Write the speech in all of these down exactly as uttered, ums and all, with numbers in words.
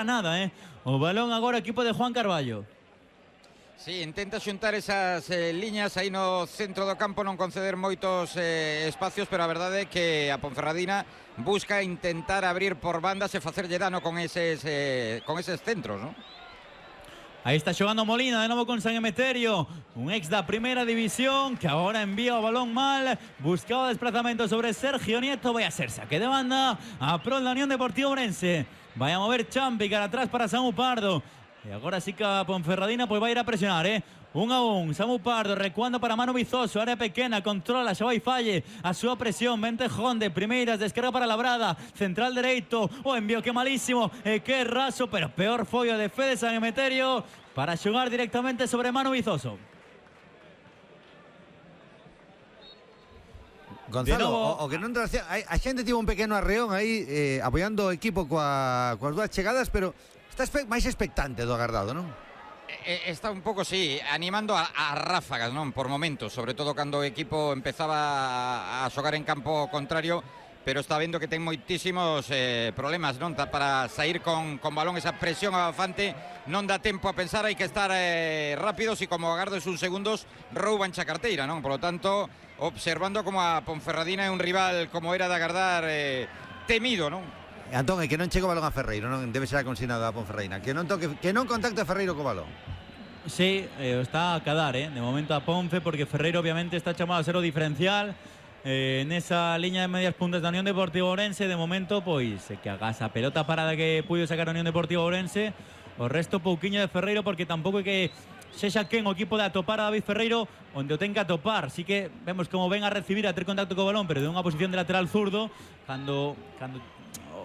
nada, eh? O balón agora equipo de Juan Carballo. Sí, intenta xuntar esas eh, liñas aí no centro do campo, non conceder moitos eh, espacios, pero a verdade é que a Ponferradina busca intentar abrir por bandas e facerlle dano con eses, eh, con eses centros, ¿no? Ahí está jugando Molina, de nuevo con San Emeterio, un ex da primera división que ahora envía o balón mal, buscaba desplazamiento sobre Sergio Nieto, vai a ser saque de banda a pro da Unión Deportiva Ourense, vai a mover Champi cara atrás para Samu Pardo, e agora sí que a Ponferradina pues vai ir a presionar, eh. Un a un, Samu Pardo recuando para Manu Vizoso, área pequena, controla, xa vai falle a súa presión, Ventejón de primeiras, descarga para Labrada, central dereito, o envío que malísimo, e que raso, pero peor foi o de Fede San Emeterio para xogar directamente sobre Manu Vizoso. Gonzalo, o, o que non tracia, a, a xente tivo un pequeno arreón aí eh, apoiando o equipo coa, coas dúas chegadas, pero está espe máis expectante do agardado, non? Está un pouco, sí, animando a, a ráfagas, non? Por momentos, sobre todo cando o equipo empezaba a, a xogar en campo contrario, pero está vendo que ten moitísimos eh, problemas, non? Para sair con, con balón, esa presión abafante, non dá tempo a pensar, hai que estar eh, rápidos e como agardes uns segundos, rouban xa carteira, non? Por lo tanto, observando como a Ponferradina é un rival, como era de agardar, eh, temido, non? Antón, é que non chega o balón a Ferreiro, non debe ser a consignado a Ponferradina, que non toque, que non contacte a Ferreiro co balón. Sí, eh, está a cadar, eh, de momento a Ponfe, porque Ferreiro obviamente está chamado a ser o diferencial eh, nesa liña de medias puntas da Unión Deportiva Ourense. De momento, pois, eh, que hagas a pelota parada que puido sacar a Unión Deportiva Ourense, o resto pouquiño de Ferreiro, porque tampouco é que sexa quen o equipo de atopar a David Ferreiro onde o ten que atopar. Sí que vemos como ven a recibir, a ter contacto co balón, pero de unha posición de lateral zurdo, cando cando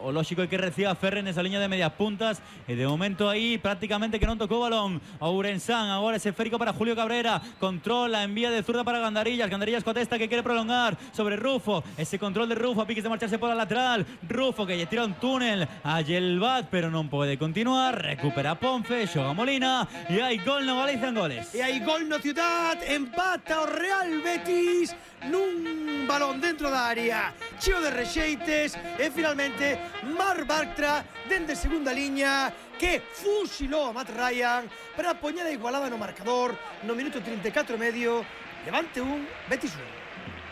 o lógico é que reciba Ferre nesa liña de medias puntas, e de momento aí prácticamente que non tocou o balón a Ourensán. Agora ese esférico para Julio Cabrera, controla, envía de zurda para Gandarillas, Gandarillas coa testa que quere prolongar sobre Rufo, ese control de Rufo a piques de marcharse por la lateral, Rufo que lle tira un túnel a Yelvat, pero non pode continuar, recupera Ponfe, xoga Molina e hai gol no Galicia en goles. E hai gol no Ciudad, empata o Real Betis nun balón dentro da área, cheo de rexeites, e finalmente Marc Bartra dende segunda liña que fusilou a Matt Ryan para poñer a igualada no marcador no minuto trinta e catro e medio. Levante un, Betis un.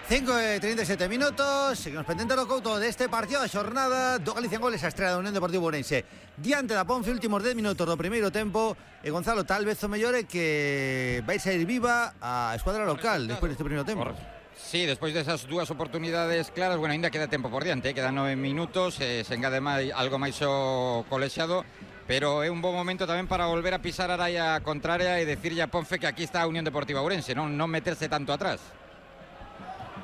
cinco e trinta e sete minutos, seguimos pendente do couto deste partido da xornada do Galicia en goles, a estrela da Unión Deportiva Ourense diante da Ponfe, últimos dez minutos do primeiro tempo. E Gonzalo, tal vez o mellor é que vai sair viva a escuadra local despois deste primeiro tempo. Sí, despois desas dúas oportunidades claras, bueno, ainda queda tempo por diante, eh? Quedan nove minutos, eh, se engade máis, algo máis o colexiado, pero é un bom momento tamén para volver a pisar a raya contraria e decirlle a Ponfe que aquí está a Unión Deportiva Ourense, non, non meterse tanto atrás.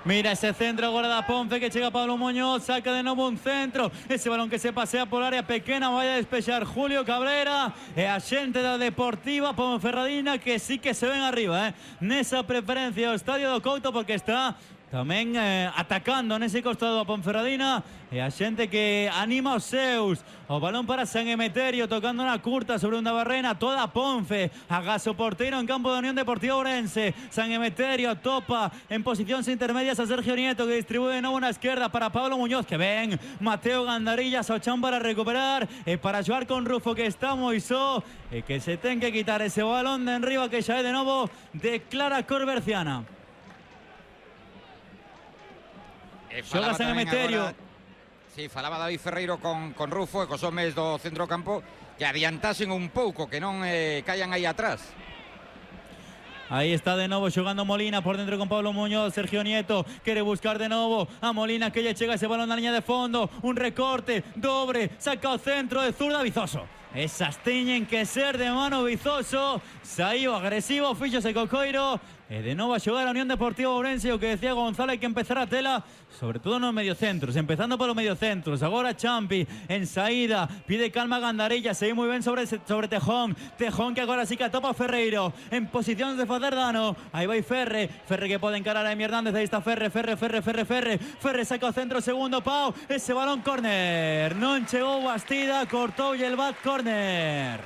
Mira ese centro agora da Ponfe que chega Pablo Muñoz, saca de novo un centro, ese balón que se pasea por área pequena, vai a despexar Julio Cabrera e a xente da Deportiva Ponferradina que sí que se ven arriba, eh, nesa preferencia o estadio do Couto, porque está tamén eh, atacando nese costado a Ponferradina e a xente que anima os seus. O balón para San Emeterio tocando na curta sobre unha barrena, toda a Ponfe, agás o porteiro en campo da Unión Deportiva Ourense. San Emeterio topa en posicións intermedias a Sergio Nieto que distribúe de novo na esquerda para Pablo Muñoz, que ven Mateo Gandarillas ao chan para recuperar e para xogar con Rufo que está moi só e que se ten que quitar ese balón de enriba que xa é de novo de Clara Corberciana. Xoga San Emeterio. Sí, falaba David Ferreiro con, con Rufo e cos homes do centro campo que adiantasen un pouco, que non eh, caian aí atrás. Ahí está de novo xogando Molina por dentro con Pablo Muñoz. Sergio Nieto quere buscar de novo a Molina que lle chega ese balón na liña de fondo, un recorte, dobre, saca o centro de zurda Vizoso. Esas teñen que ser de mano Vizoso, saiu agresivo, fíxose co coiro e de novo a xogar a Unión Deportiva Ourense. O que decía Gonzalo, hai que empezar a tela sobre todo nos mediocentros, empezando polo mediocentros. Agora Champi en saída, pide calma a Gandarilla, segue moi ben sobre, sobre Tejón, Tejón que agora sí que atopa Ferreiro en posicións de facer dano. Aí vai Ferre, Ferre que pode encarar a Emi Hernández, aí está Ferre, Ferre, Ferre, Ferre, Ferre, Ferre saca o centro, segundo pau, ese balón córner, non chegou Bastida, cortou e el bat córner.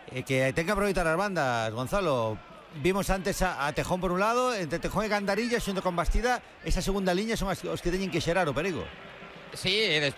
E que ten que aproveitar as bandas, Gonzalo. Vimos antes a, a Tejón por un lado, entre Tejón e Gandarillas xunto con Bastida, esa segunda liña son as, os que teñen que xerar o perigo. Sí, e despois